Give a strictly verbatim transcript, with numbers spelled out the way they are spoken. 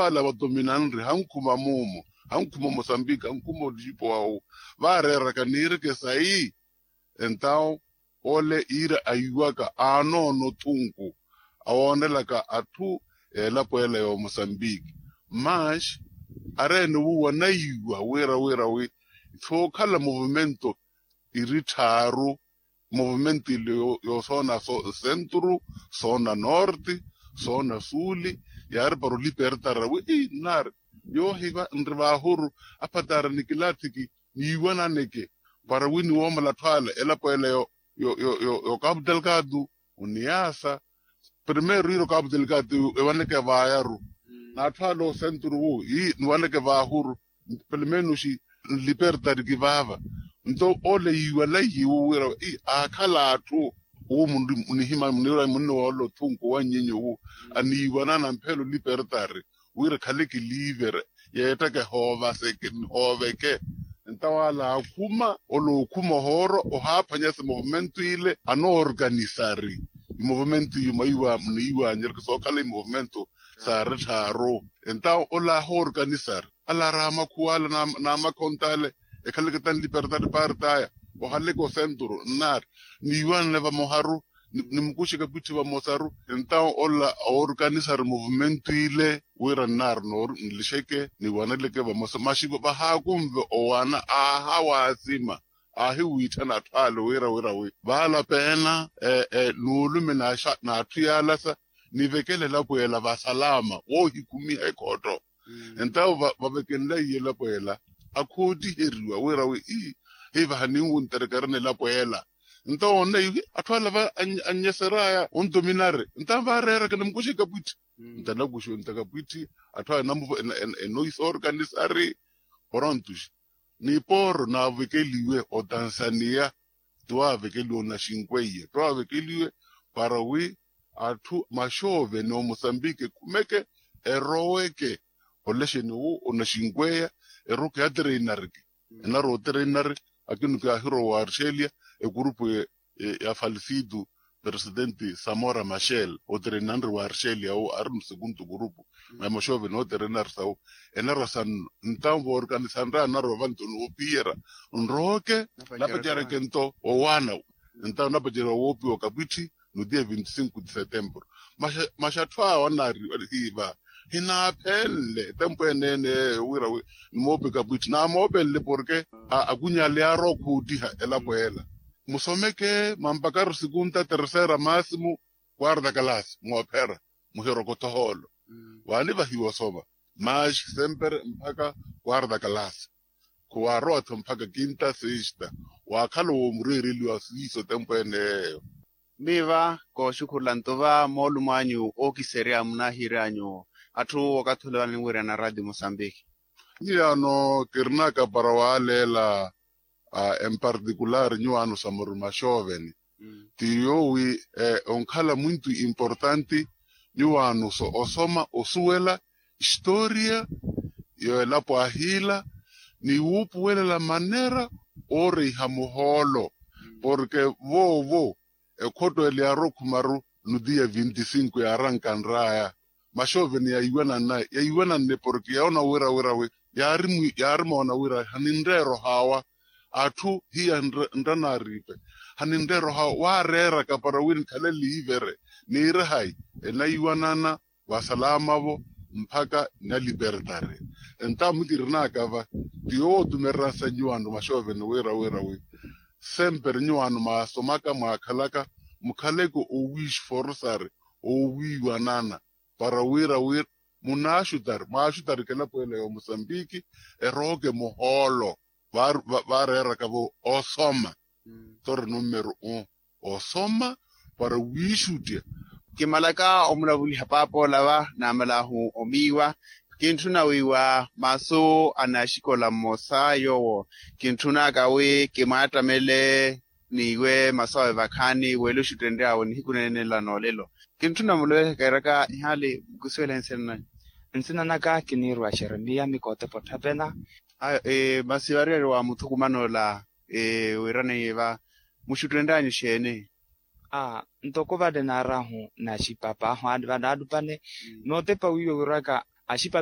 ala vadominanri hankhuma mumo, hankhuma mosambiki, hankhuma olixipo wawu, vaareeraka niireke sayi. Entawo ole iira ayiwaka aanoona othunku, awoonelaka atthu, elapo ela y'omosambiki. Mas areene wuuwa naiwa wira wira wi sookhala movimento iri tthaaru. Movimento ile yo- yosoona so- centro, soona norte, soona suli, yaari para olipertara wi ii nnaari, yoohiva nri vaahuru, apatara nikilathiki, niiwananeke para wi niwoomala atthu ala elapo ela yo- yo- yo- yo- yo capu delgado, oniyaasa. Primeiro iiro capu delgado ewaneke vaayaru, n'atthu ala osenturu wu ii niwaneke vaahuru, pelo menos nlipertari kivaava. Nto ole yiiwalaiye wu wira ii aakhala atthu wu munihima muniwira munniwoola othunku wa nnyinyi wu aniiwanana mphelo nlipertari wira khale kiliivere yeettaka ehooveke. Ntawo ala aakhuma ole ookhuma ohooro ohaaphwanyasa movimento ile anoorkanisari. Imovimento iyo maiwa muniiwanyereke sookhala imovimento saari tthaaru. Entawo ole ahoorkanisari ala ari amakhuwa ala n'amakhonta ale ekhaleke tanlipertari partaya ohaleke osenturu nnaari niiwanane vamoharu, nimukuxe kapwitthi vamosaru. Entawo ola oorkanisari movimento ile wira nnaari noori nlixeke niwaneleke vamosa maxi vahaakunve owana aahawaasima aahiwiitthana atthu ale wira wira wi vaala peena nuulume n'atthu yaalasa nivekele elapo ela vasalaama woohikhumiha ekhotto. Entawo vavekenlaiye elapo ela akhoottiheriwa wira wi ii hivaha ninwunterekerene elapo ela. Nto oonne ihi atthu ala va annyeseraya ontominari nto vaareeraka nimukuxe kapwitthi. Nto anakuxe onta kapwitthi atthu ala enoisa orkanisari. Porontuxi nipooro naavekeliwe otansania, tiwaavekeliwe onaxinkweya tiwaavekeliwe para wi atthu maxooveni omosambiki ekhumeke eroweke olexeni owo onaxinkweya eroweke yatereinariki. Enarwa otereinari akinu kaahirowa wa arxelia ekurupu ya falisitu presidenti samora maxel otereinanri wa arxelia owo ari musekuntu kurupu. Maya maxooveni otereinari sawo enarwa sannu ntawo voorikanisanraya narwa vantu noopiyera nrooke napacereke nto owaana. Ntawo napaceriwa woopiwa kapwitthi no dia vinte cinco de setembro. Maxa atthu awa anaariwa hiiva hinaaphenle tempu eneene eyo wira wi nimoope kapwitthi naamoopenle porke akunyale yaarowa okhuuttiha elapo ela. Musomeke mampakaru sikunta terceira maasimu quarta kalasi moophera muhirokotho ohoolo. Waanivahiwa osoma maxi sempere mpakha quarta kalasi khuwaarowa-tho mpakha kinta sexta. Waakhala woomureereliwa siiso tempu ene yeeyo. Miiva kooxukhurula nto va moolumo anyu ookiserya munaahiiryanyu atthu wakathi ole vano ninwiirana radio mosambiki. Nyiyaano kirinaka para waaleela empartikulari nyuwaano sa muru maxooveni ti yoowi onkhala mwintu importanti nyuwaano sa osoma osuwela historia y'elapo ahiila ni wuupuwelela manera ooreiha muhoolo porke voovo ekhotto ele yaarowa okhumaru no dia vinte cinco yaarankanraya maxooveni yaiwananne porke yaona wira wira wi yaarimoona wira haninreera ohaawa atthu hiya nranaariipe haninreera ohaawa waareeraka para wi nikhale liivere niire hayi enaiwanana vasalama-vo mpakha nalipertari. Entawo mukirinaka va ti yoowo otumereransa nyuwaano maxooveni wira wira wi sempere nyuwaano mwaasomaka mwaakhalaka mukhaleke owiixuforsari owiiwanana para wira wira munaaxutari mwaaxutarike elapo ela y'omosambiki erooke muhoolo vaareeraka-vo osoma. Tori nummeru u osoma para wiixuttya. Kimalaka omulavuliha paapa ola va naamalahu omiiwa kintthuna wiiwa masu a naaxikola mmosa yoowo kintthunaka wi kimwaattamele n'iwe masu awe vakhaani w'eluxuttenry'awe nihiku neene nla n'olelo. Kintthuna muloweke kairaka ihaali mukusuwele nsina nanyu? Nsina naka kiniirwa xeremiya mikootepa otthapena. Masi variyari wa muthukuman'ola wiiraneiye va muxuttenry'anyu xeeni? Aa ntoko vale naarahu naxipapaahu vale naalupale nootepa wiiwo wiraka axipapa